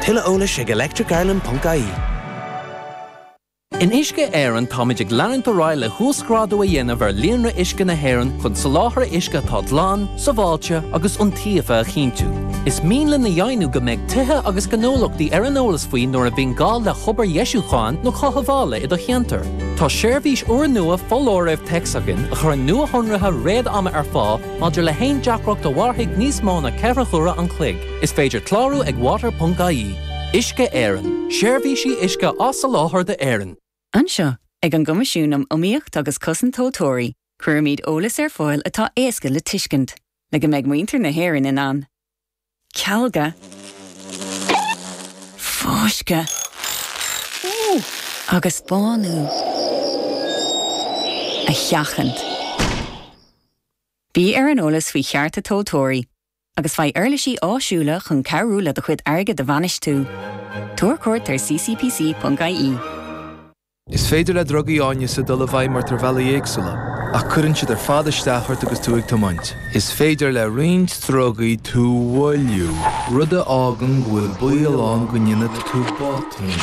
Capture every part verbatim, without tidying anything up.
Tuilleadh eolais ag electricireland.ie. In Uisce Éireann táimid ag leanúint ar aghaidh le huasghrádú a dhéanamh ar líonra uisce na hÉireann chun soláthar uisce atá glan, sábháilte agus iontaofa a chinntiú. Is mian linn a dheimhniú go mbeidh tithe agus gnólachtaí ar an eolas faoi nuair a bhíonn gá le hobair dheisiúcháin nó cothabhála i do cheantar. Tá seirbhís úrnua foláirimh téacs againn a chuireann nuashonruithe réad-ama ar fáil maidir le haon deacracht a mhairfidh níos mó ná ceithre huaire an chloig. Is féidir clárú ag water.ie. Uisce Éireann, seirbhísí uisce á soláthar d'Éirinn. Anseo ag an gCoimisiún um Iomaíocht agus Cosaint Tomhaltóirí, cuirimid eolas ar fáil atá éasca le tuiscint, le go mbeidh muintir na hÉireann in ann. Cealga Fáisceadh agus bánú a sheachaint. Bí ar an eolas faoi chearta tomhaltóirí, agus faigh uirlisí áisiúla chun cabhrú le do chuid airgid a bhainistiú. Tabhair cuairt ar ccpc.ie. Is féidir le drugaí áineasa dul i bhfeidhm ort ar bhealaí éagsúla, ach cuireann siad ar fad isteach ort agus tú ag tiomáint. Is féidir le roinnt drugaí tú a mhoilliú, rud a fhágann go bhfuil baol ann go ndéanfaidh tú botún.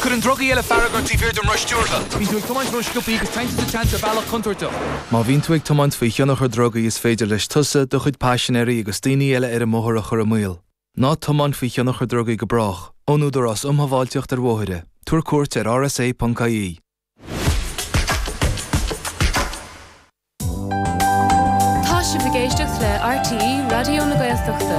Cuireann drugaí eile fearg ort taobh thiar den roth stiúrtha. Bíonn tú ag tiomáint ró-sciobtha agus téann tú sa tseans ar bhealach contúirteach. Má bhíonn tú ag tiomáint faoi thionchar drugaí is féidir leis tusa, do chuid paisinéirí agus daoine eile ar an mbóthar a chur i mbaol. Ná tiomáin faoi thionchar drugaí go brách, ón Údarás um Shábháilteacht ar Bhóithre. Tabhair cuairt ar rsa.ie. Tá sibh ag éisteacht le RTÉ Raidió na Gaeltachta.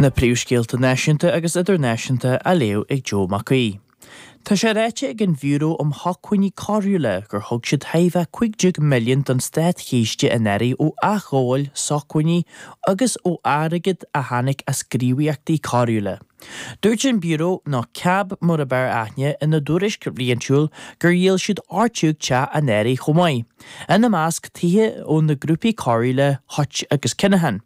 Na príomhscéalta náisiúnta agus idirnáisiúnta á léamh ag Joe Mac Aoidh. Tá sé ráite ag an Bhiúró um Shócmhainní Coiriúla gur thug siad thaobh cúig déag milliún don státchiste anuraidh ó athghabháil sócmhainní agus ó airgead a tháinig as gníomhaíochtaí coiriúla. Dúirt an Biúró, nó CAB mar ab fhearr aithne, ina dtuairisc bhliantúil gur dhíol siad ocht déag teach anuraidh chomh maith, ina measc tithe ó na grúpaí coiriúla Hutch agus Kinahan.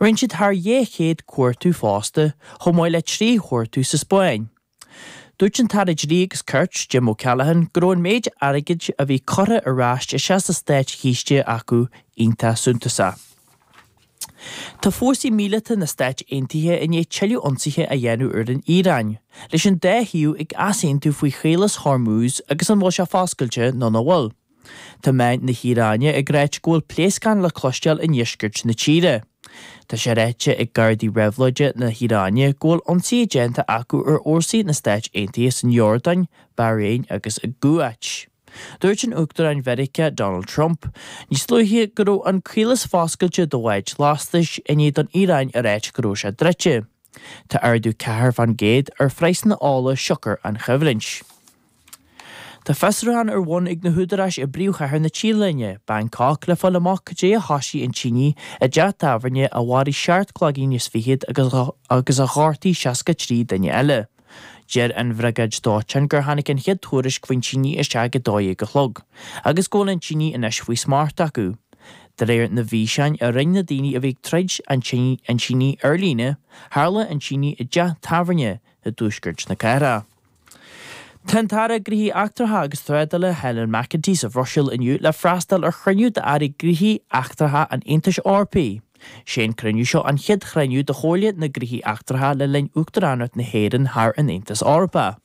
Rinne siad thar dhá chéad cuartú fosta, chomh maith le trí chuartú sa Spáinn. Dúirt an tAire Dlí agus Cirt, Jim O'Callaghan, go raibh an méid airgid a bhí curtha ar ais isteach sa státchiste acu iontach suntasach. Tá fórsaí míleata na Stáit Aontaithe i ndiaidh tuilleadh ionsaithe a dhéanamh ar an Iaráin, leis an dá thaobh ag easaontú faoi Chaolas Hormuz agus an bhfuil sé foscailte nó nach bhfuil. Tá meáin na hIaráine ag ráit go bhfuil pléascáin le cloisteáil i ndeisceart na tíre. Tá sé ráite ag Gardaí Réabhlóide na hIaráine go bhfuil ionsaithe déanta acu ar fhórsaí na Stáit Aontaithe san Iordáin, Bairéin agus i gCuáit. Dúirt an Uachtarán Mheiriceá Donald Trump níos luaithe go raibh an caolas foscailte do bháid lastais i ndiaidh don Iaráin a ráit go raibh sé druidte. Tá ardú ceathair faoin gcéad ar phraghsanna ola siocair an choimhlint. Tá fiosrúchán ar bun ag na húdaráis i bpríomhchathair na Téalainne, Bangkok, le fáil amach cad é a thosaigh an tine i dteach tábhairne a mharaigh seacht gcloigeann is fichead agus a ghortaigh seasca trí duine eile. Deir an bhriogáid dóiteáin gur tháinig an chéad tuairisc faoin tine isteach ag a dó dhéag a chlog agus go bhfuil an tine anois faoi smacht acu. De réir na bhfíseáin a roinn na daoine a bhí ag troid an tine ar líne, tharla an tine i dteach tábhairne i dtuaisceart na cathrach. Tá an tAire Gnóthaí Eachtracha agus Trádála Helen McEntee sa Bhruiséil inniu le freastal ar chruinniú d'Airí Gnóthaí Eachtracha an Aontais Eorpaigh. Sé an cruinniú seo an chéad chruinniú de Chomhairle na nGnóthaí Eachtracha le linn Uachtaránacht na hÉireann thar an Aontas Eorpach.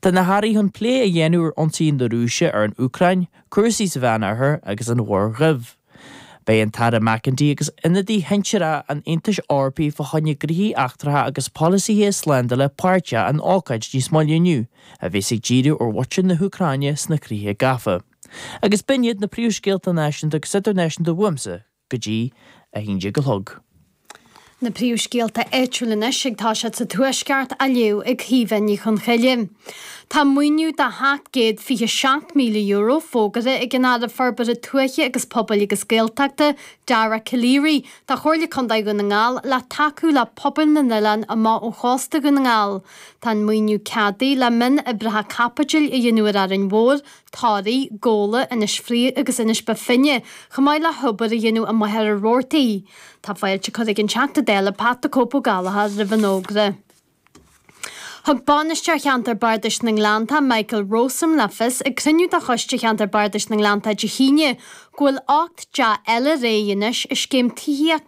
Tá na hairí chun plé a dhéanamh ar ionsaí na Rúise ar an Úcráin, cúrsaí sa Mheánoirthear agus an Mhuir Dhuibh. Beidh an tAire McEntee agus ionadaithe shinsearacha an Aontais Eorpaigh fá choinne gnóthaí eachtracha agus polasaithe slándála páirteach in ócáid níos moille inniu, a bheas ag díriú ar mhuintir na hÚcráine sna críocha gafa. Agus b'in iad na príomhscéalta náisiúnta agus idirnáisiúnta uaimse go dtí a haon déag a chlog. Na príomhscéalta áitiúla anois ag toiseacht sa Tuaisceart á léamh ag Caoimhe Ní Chonchoille. Tá maoiniú de sheacht gcéad fiche seacht míle euro fógartha ag an Aire Forbartha Tuaithe agus Pobail agus Gaeltachta, Dara Calleary, do Chomhairle Contae Dhún na nGall le tacú le pobail na n-oileán amach ó chósta Dhún na nGall. Tá an maoiniú ceadaithe le mionoibreacha caipitil a dhéanamh ar Árainn Mhór, Toraigh, Gabhla, Inis Fraoich agus Inis Bó Finne, chomh maith le hobair a dhéanamh i Machaire Rabhartaigh. Tá fáilte curtha ag an Teachta Dála Pat the Cope Ó Gallchóir roimh an fhógra. Thug Bainisteoir Cheantar Bardais na nGleanntach, Michael Rowsome le fios ag cruinniú de Choiste Cheantar Bardais na nGleanntach Dé hAoine go bhfuil ocht dteach eile réidh anois i scéim tithíochta